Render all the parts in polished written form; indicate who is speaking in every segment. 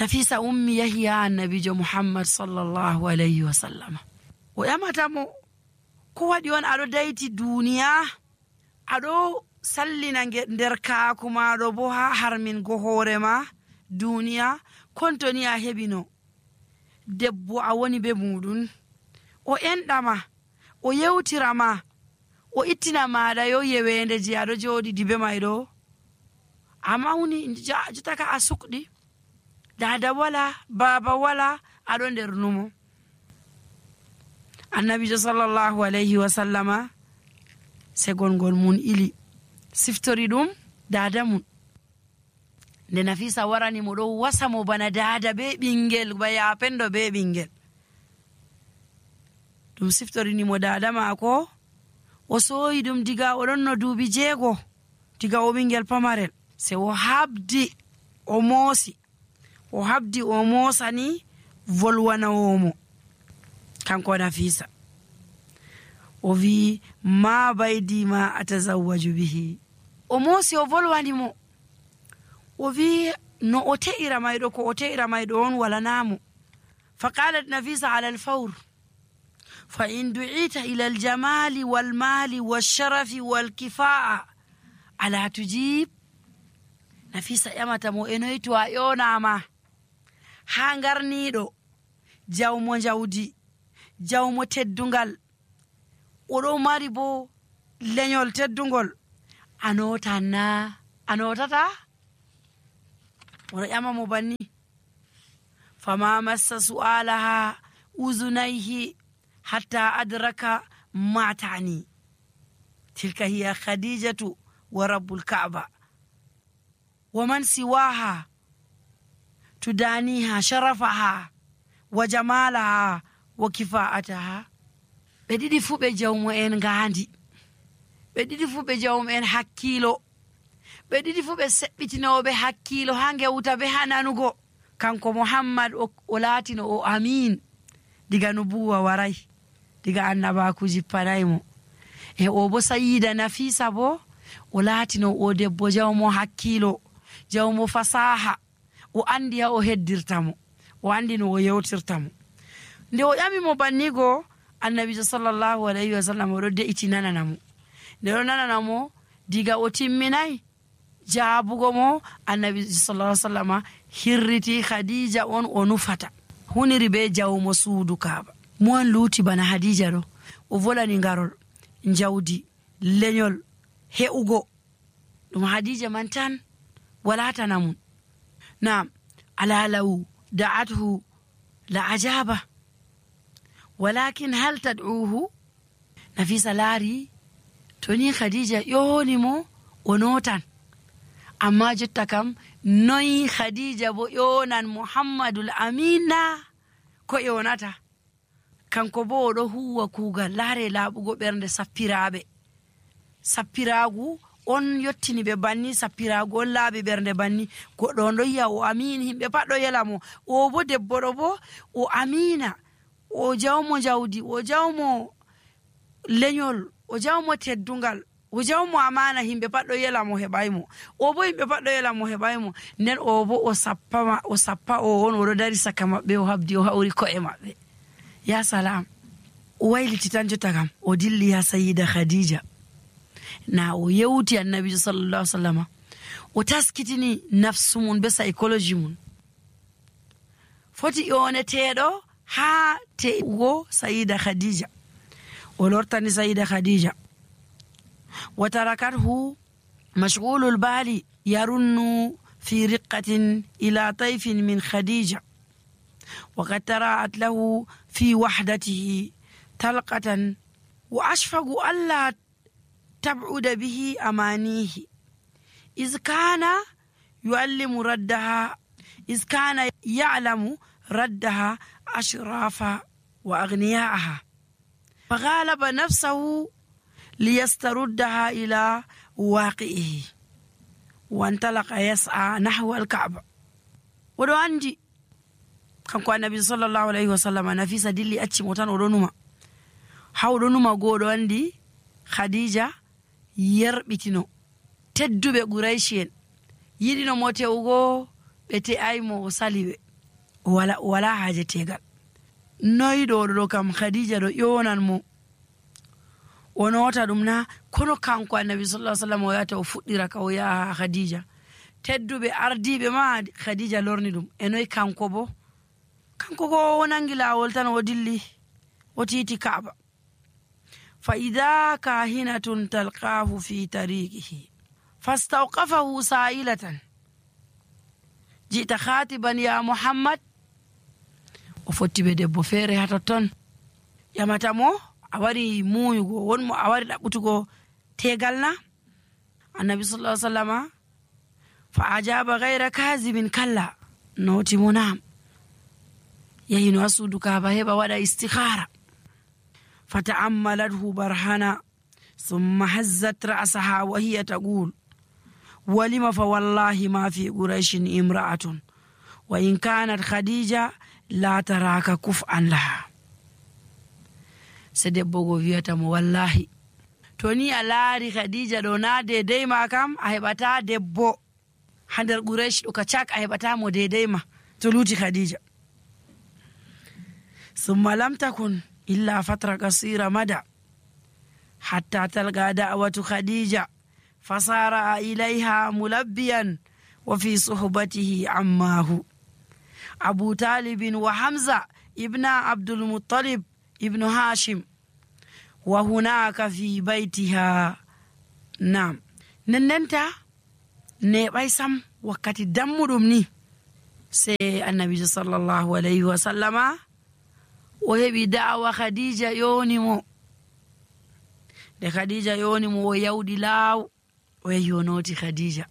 Speaker 1: Nafisa ummi yahi ha annabijo Muhammad sallallahu alayhi wa sallam. O yamatamo ko waɗi on aɗo dayti duniya, aɗo sallina nder kaaku maɗo bo ha harmingo hoore ma duniya, kontoni a heɓino debbo a woni be muɗum, o enɗama, o yewtirama, o ittina maɗa yo yewende je aɗo joɗi dibe mayɗo, a mawni jotaka a sukɗi, dada wala, baba wala, aɗo nder numo. Annabijo sallallahu alayhi wa sallama segolngol mun ili siftori ɗum dada mun. Nde Nafisa warani mo ɗo wasa mo bana dada be ɓingel, ba yapendo be ɓingel. Ɗum siftorini mo dada maako, o soyi ɗum diga o ɗon no duubi 6, diga o ɓingel pamarel. Se o habdi o moosi, o habdi o moosani volwanawomo kanko Nafisa. O wi ma baydi ma atazawwaju bihi. O moosi o volwani mo, o wi no o te'ira mayɗo, ko o te'ira mayɗo on walanamo. Faqalat Nafisa ala alfawr fa in du'ita ila aljamali walmali walsharafi walkifa'a ala tujib. Nafisa ƴamata mo, enoyi to a ƴonama ha ngarniɗo, jawmo jawdi, jawmo teddungal, oɗo mari bo lenyol teddungol, a notan na? A notata? Oɗo ƴama mo banni. Fama massa su'alaha uzunayhi hatta adraka ma ta'ni. Tilka hiya Khadijatu wa rabbul Ka'ba wa man siwaha tudaniha sharafaha wa jamalaha wa kifa'ataha. Ɓe ɗiɗi fu ɓe jawmo en ngandi, ɓe ɗiɗi fu ɓe jawmo en hakkilo, ɓe ɗiɗi fu ɓe seɓɓitinoɓe hakkilo ha ngewta be ha nanugo. Kanko Muhammad o laatino o amin diga nubuwa waray, diga annabaku jippanaymo. E o bo Sayida Nafisa bo o laatino o debbo jawmo hakkilo, jawmo fasaha, o andi ha o heddirtamo, o andi no o yewtirtamo. Nde o ƴami mo bannigo, annabijo sallallahu alayhi wa sallam oɗo de'iti nananamo. Nde ɗo nananamo diga o timminayi jaabugo mo, annabijo sallallahu alayhi wa sallam hirriti Khadija on o nufata, huniri be jawmo suudu Kaaba. Mo an luuti bana Khadija ɗo, o volani ngarol, jawdi, lenyol, he'ugo. ɗum Khadija man tan wala tanamun. Naam, ala law da'athu la ajaba walakin hal tad'uhu. Nafisa laari to ni Khadija ƴoni mo o notan, amma jotta kam noyi Khadija bo ƴonan Muhammadul Amina ko ƴonata. Kanko bo oɗo huwa kuugal laare laaɓugo ɓernde sappiraaɓe. Sappiraagu on yottini ɓe banni, sappiraagu on laaɓi ɓernde banni. Goɗɗo on ɗo yi'a o amin, himɓe pat ɗo yela mo. O bo debbo ɗo bo o amina, o jawmo jawdi, o jawmo lenyol, o jawmo teddungal, o jawmo amana, himɓe pat ɗo yela mo heɓaymo. O bo himɓe pat ɗo yela mo heɓaymo. Nden o bo o sappa o on oɗo dari saka maɓɓe, o habdi o hawri ko'e maɓɓe. Ya salam, o wayliti tan jotta kam o dilli ha Sayida Khadija. Na o yewti annabijo sallallahu alaihi wasallam, o taskitini nafsu mun be psychology mun. Foti yoneteɗo ha te'ugo Sayida Khadija. O lortani Sayida Khadija. Wa tarakathu mashghulul bali yarunnu fi riqqatin ila tayfin min Khadija. وقد تراءت له في وحدته تلقة وأشفق ألا تبعد به أمانيه إذ كان يعلم ردها أشراف وأغنياءها، فغالب نفسه ليستردها إلى واقعه وانطلق يسعى نحو الكعبة. ودو عندي kanko annabi sallallahu alaihi wasallam, Nafisa dilli acci mo tan oɗo numa. Ha oɗo numa goɗo andi Khadija yerbitino tedduɓe Qurayshi en yiɗino mo te'ugo, ɓe te'aymo o saliɓe. wala haaje tegal. Noyi ɗo kam Khadija ɗo ƴonan mo o nota ɗum na, kono kanko annabi sallallahu alaihi wasallam o yata o fuɗɗira ka o yaha Khadija. Tedduɓe ardiɓe ma Khadija lorni ɗum. E noyi kanko bo? Kanko ko o nangi lawol tan o dilli o titi Kaaba. Fa idha kahinatun talqahu fi tariqihi fastawqafahu sa'ilatan jita khatiban ya Muhammad. O fotti be debbo feere ha totton yamata mo a wari muyugo, wonmo a wari ɗaɓɓutugo tegal na? Annabi sallallahu alaihi wasallama fa ajaba ghayra kazibin kalla, noti mo nam. Yahino ha suudu Kaaba heɓa waɗa istikhara. fata'ammalathu barhana thumma hazzat ra'saha wa hiya taqul walima fa wallahi ma fi quraishin imra'atun wa in kanat Khadija la taraka kuf'an laha. Se debbo go wiyata mo wallahi to ni a laari Khadija ɗo na dedei ma kam a heɓata debbo ha nder Quraysh ɗo ka cak a heɓata mo dedei ma to luti Khadija. Summa lam takun illa fatra qasira mada hatta talqa da'watu Khadija fasara ilayha mulabbiyan wa fi suhbatihi ammahu Abu Talib wa Hamza ibn Abdul Muttalib ibn Hashim wa hunaka fi baytiha. Nam nennenta neɓay sam wakkati dammuɗum ni se annabijo sallallahu alayhi wa sallama o heɓi da'wa Khadija yoni mo. De Khadija yoni mo o yawɗi laaw o yahi o noti Khadija.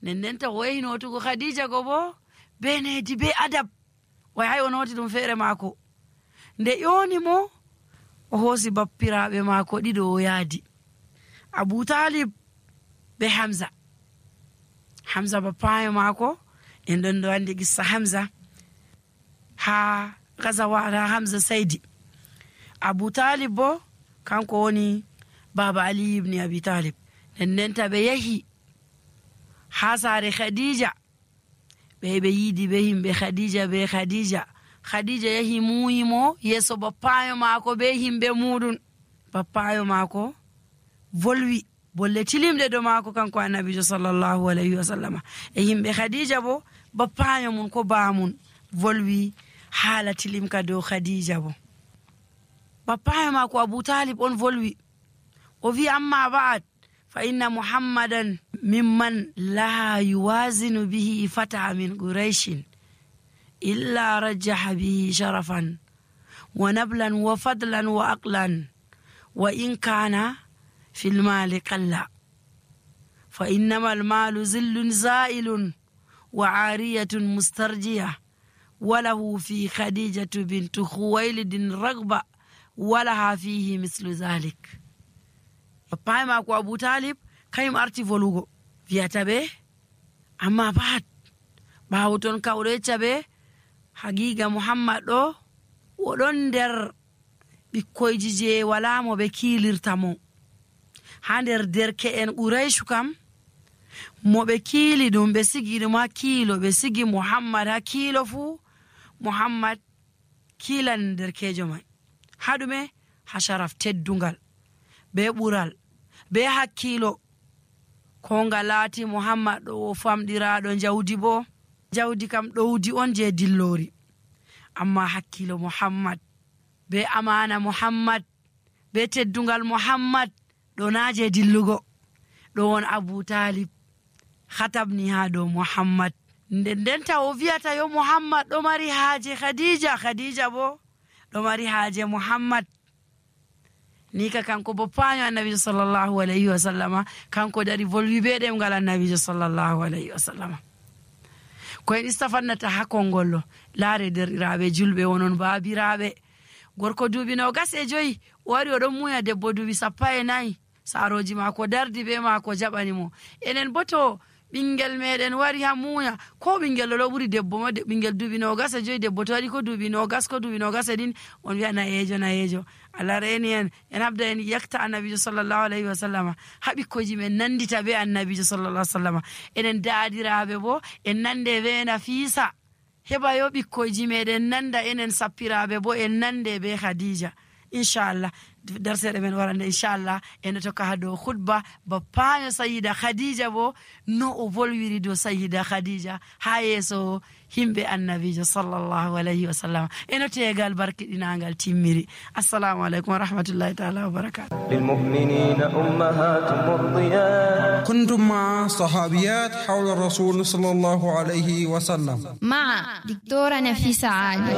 Speaker 1: Nennenta o yahi notugo Khadija go bo be nedi be adab o yahi o noti ɗum feere maako. Nde yoni mo o hoosi bappiraɓe maako ɗiɗo o yaadi, Abu Talib be Hamza. Hamza bappayo maako en ɗon ɗo andi gissa Hamza ha gazawara Hamza Saidi. Abu Talib bo kanko woni baba Ali ibn Abi Talib. Nennenta ɓe yahi ha saare Khadija ɓe yiidi be himɓe Khadija be Khadija yahi muyi mo yeso bappayo maako be himɓe muɗum. Bappayo maako volwi bolle tilimɗe do maako kanko annabijo sallallahu alayhi wa sallama. E himɓe Khadija bo bappayo mun ko baamun volwi haala tilimka dow Khadija bo. Bappayo maako Abu Talib on volwi o wi amma ba'ad fa inna Muhammadan mimman la yuwazinu bihi fata min Quraishin illa rajjaha bihi sharafan wa nablan wa fadlan wa aqlan wa in kana fil mali qalla fa innama al malu zillun za'ilun wa 'ariyatun mustarjiya wa lahu fi Khadijatu bint Khuwaylid ragba wa laha fihi mislu zalik. Papa maako Abu Talib kayum arti volugo wiyata ɓe amma bat ɓaawo ton kawɗo yecca ɓe haqiqa Muhammad ɗo oɗon nder ɓikkoyji je wala mo ɓe kiilirta mo. Ha nder derke'en Qurayshu kam mo ɓe kiili ɗum ɓe sigi ɗum ha kiilo, ɓe sigi Muhammad ha kiilo fuu Muhammad kiilan derkejo mai ha ɗume ha sharaf teddungal be ɓural be hakkilo ko nga laati Muhammad ɗo o famɗiraɗo jawdi bo jawdi kam ɗowdi on je dillori amma hakkilo Muhammad be amana Muhammad be teddungal Muhammad ɗo naje dillugo ɗo won Abu Talib khatabni ha dow Muhammad. Ndenta o wiyata yo Muhammad ɗo mari haaje Khadija bo ɗo mari haaje Muhammad. Ni ka kanko boppaño annabijo sallallahu alayhi wa sallama kanko dari volwi be ɗemgal annabijo sallallahu alayhi wa sallama. Ko en istafannata ha kongollo laare derɗiraɓe julɓe wonon baabiraɓe gorko duuɓi 25 o wari oɗon muya debbo duuɓi 14 saroji maako dardi be maako jaɓani mo. Enen bo to ɓingel meɗen wari ha muya ko ɓingel ɗo ɓuri debbo ma ɓingel duuɓi 25 debbo to waɗi ko duuɓi 20 ko duuɓi 20 on wiya nayejo Allah reni en habda en yakta annabijo sallallahu alayhi wa sallama ha ɓikkoyji men nandita be annabijo sallallahu alayhi wa sallama. Enen daadiraɓe bo en nande be Nafisa heba yo ɓikkoyji meɗen nanda enen sappiraɓe bo en nande be Khadija inchallah. darseɗe men warande inchallah en tokka ha dow khutba bappayo Sayyida Khadija bo no o volwiri dow Sayyida Khadija ha yeso himɓe annabijo sallallahu alayhi wa sallam. eno tegal barkiɗinangal timmiri. assalamu aleykum wa rahmatullahi ta'ala wa barakatuh.
Speaker 2: للمؤمنين أمهات مرضيات.
Speaker 3: كنتم مع صحابيات حول الرسول صلى الله عليه وسلم
Speaker 4: مع دكتورة نفيسة عالي.